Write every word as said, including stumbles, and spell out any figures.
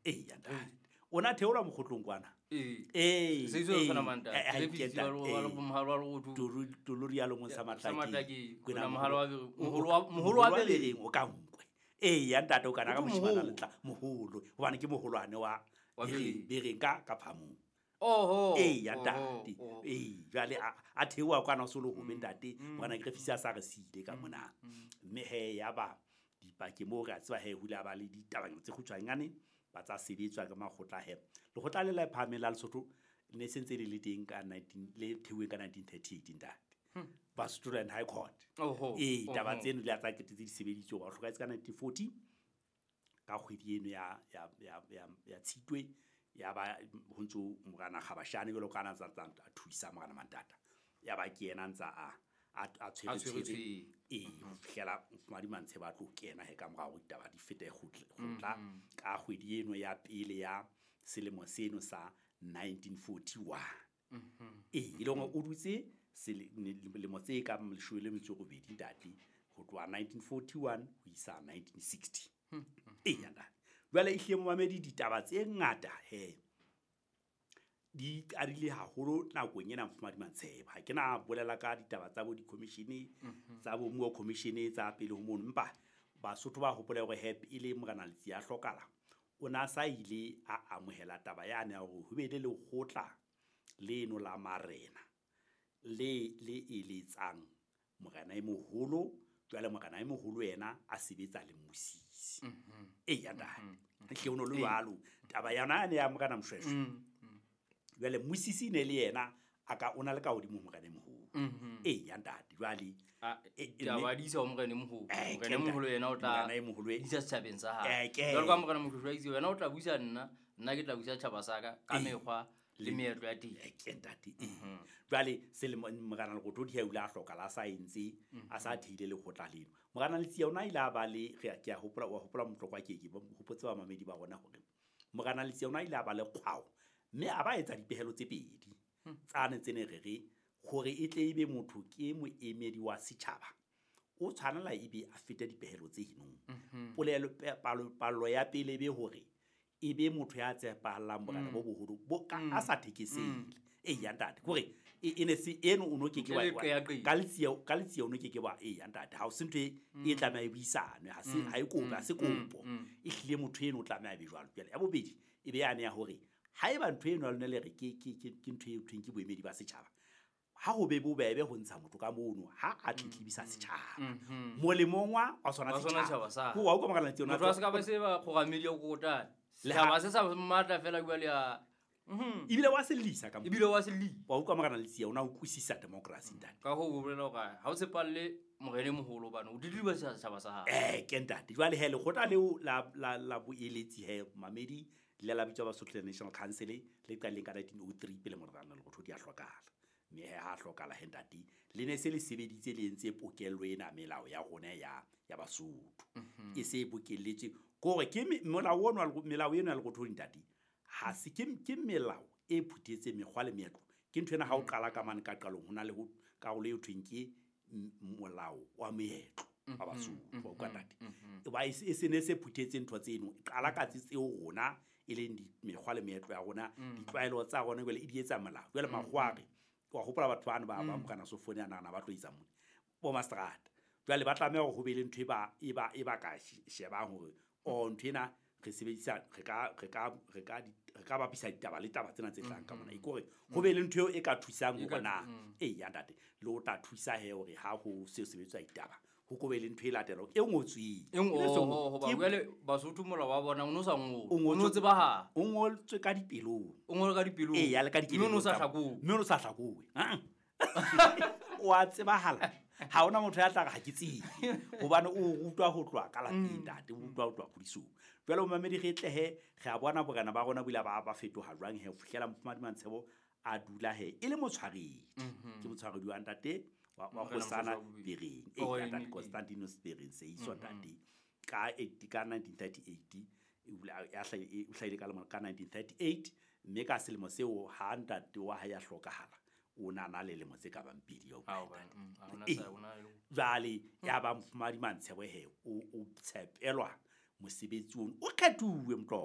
Eya ntate, o na theolwa mokgotlong kwana. Ee, tolorialong sa Matlakeng moholo wa Bereng o ka nkwe. Eya ntate, o kana ka moshimana letla moholo, hobane ke moholwane wa Bereng ka ka phamong. Oho. Eya ntate, ee jwale a theoha kwana o so le hobe ntate, morena Griffiths a sa re siile ka mona. Mme he ya ba dipakeng moo re a tseba he hula ba le ditabanyana tse kgutshwanyane ba tsa sebetswa ka makgotla he. Lekgotla le la phahameng la Lesotho ne se ntse le le teng ka nineteen le theuweng ka nineteen thirty-eight ntate. Basotho Land High Court. Ee, taba tseno le tsa ketetse di sebeditswe ba hlokahetse ka nineteen forty ka kgwedi eno ya ya ya ya ya Tshitwe, ya ba ho ntso morena Kgabashane jwalo ka ana tsa tsa a thuisa morena Mantata. Ya ba ke yena ntsa a a tshwere tshwere ee ho fihlela Mofumahadi Mantshebe a tlo kena he ka morao ditaba di fete kgotla ka kgwedi eno ya pele ya selemo seno sa nineteen forty-one. Ee, e le hore o dutse lemo tse ka leshome le metso e robedi ntate, ho tloha nineteen forty-one ho isa nineteen sixty. Eya ntate, jwale ehlile momamedi ditaba tse ngata he di qadile haholo nakong ena Mofumahadi Mantshebe. Ha ke na bolela ka ditaba tsa bo di-commission tsa bo Moore Commission tsa pele ho mono, empa Basotho ba hopola hore he pele morena Letsie a hlokala o na sa ile a amohela taba yane ya hore ho be le lekgotla leno la marena le le eletsang morena e moholo. Jwale morena e moholo yena a sebetsa le mmusisi. Eya ntate, ehlile ho no le jwalo taba yona yane ya morena Mshweshwe. Jwale mmusisi ne le yena a ka o na le ka hodimo morena e moholo. Eya ntate, jwale taba di isa ho morena e moholo. Morena e moholo yena o tla isa setjhabeng sa hae. Jwalo ka morena Mshweshwe a itse, wena o tla busa nna, nna ke tla busa tjhaba sa ka ka mekgwa le meetlo ya teng. Ke ntate. Jwale selemo morena Lerothodi ha o ile a hloka la sa entse a sa theile lekgotla leno. Morena Letsie ona ile a ba le ke a hopola wa hopola motlokwa ke ke hopotse ba mamedi ba rona hore morena Letsie ona ile a ba le kgwao mme a ba etsa dipehelo tse pedi tsane tse ne re re hore e tle ebe motho ke moemedi wa setjhaba o tshwanela ebe a fete dipehelo tse hinong. Polelo palo ya pele be hore ebe motho ya tshepahalang morena bo boholo bo ka a sa thekesele. Eya ntate, hore e ne se eno o no ke ke wa ka Letsie ka Letsie o no ke ke wa eya ntate, ha o se ntho e tlameha e buisanwe, ha se ha e kopo ha se kopo e hlile motho eno o tlameha be jwalo. Jwale ya bobedi e be yane ya hore haeba ntho eno ya lona le re ke ke ke ntho e thweng ke boemedi ba setjhaba, ha ho be bobebe ho ntsha motho ka mono ha a tletlebisa setjhaba molemong wa wa sona setjhaba. Ho wa utlwa morena Letsie ona motho a se ka ba se ba kgoramedi ya kokotane setjhaba se sa matla fela jwale ya ebile wa se lisa ka ebile wa se lisa. Wa utlwa morena Letsie ona o utlwisisa democracy ntate. Ka ho bolela hore ha o tshepalle morena e moholo bana o didiba setjhaba sa hae. Eh ke ntate, jwale he lekgotla leo la la la boeletsi he mamedi le la bitswa Basotho National Council le qaleng ka nineteen oh three pele morena Lerothodi a hlokala. Mme he ha hlokala he ntate le ne se le sebeditse le entse pokello ena melao ya rona ya ya Basotho e se bokelletswe kore ke molao ono melao eno ya Lerothodi ntate ha se ke ke melao e phuthetse mekgwa le meetlo. Ke ntho ena ha o qala ka mane ka qalong ho na le ho karolo e thweng ke molao wa meetlo wa Basotho wa ntate. E ba e se ne se phuthetse ntho tseno e qala ka tseo rona e leng mekgwa le meetlo ya rona ditlwaelo tsa rona jwale e di etsa molao. Jwale makgware wa hopola batho bana ba ba morena Sofone a nahana ba tlo etsa mone bo mastrata. Jwale ba tlameha hore ho be le ntho e ba e ba e ba ka shebang hore o ntho ena re sebedisa re ka re ka re ka re ka bapisa ditaba le taba tsena tse tlang ka mona e kore ho be le ntho eo e ka thusang hore na ee ya ntate le o tla thusa he hore ha ho se sebetswa ditaba ho ko be le ntho e latelang e ngotsweng e ngo hoba jwale Basotho molao wa bona o no sa ngolwe o no tsebahala o ngotswe ka dipelong o ngolwe ka dipelong ee ya le ka dipelong mme o no sa hlakowe mme o no sa hlakowe o a tsebahala ha ona motho ya tla re ha ke tsebe hobane o rutwa ho tloha ka lapeng ntate o rutwa ho tloha kgodisong. Jwale momamedi re tlehe re a bona borena ba rona bo ile ba ba fetoha jwang he ho fihlela Mofumahadi Mantshebo a dula he e le motshwaredi ke motshwaredi wa ntate wa wa Kgosana Bereng e ntate Constantinus Bereng Seeiso ntate ka ka nineteen thirty-eight e hlahile ka lemo ka nineteen thirty-eight mme ka selemo seo ha ntate wa hae a hlokahala o na na le lemo tse ka bang pedi eo jwale ya ba Mofumahadi Mantshebo he o o tshepelwa mosebetsi ono o kgethuwe motlo.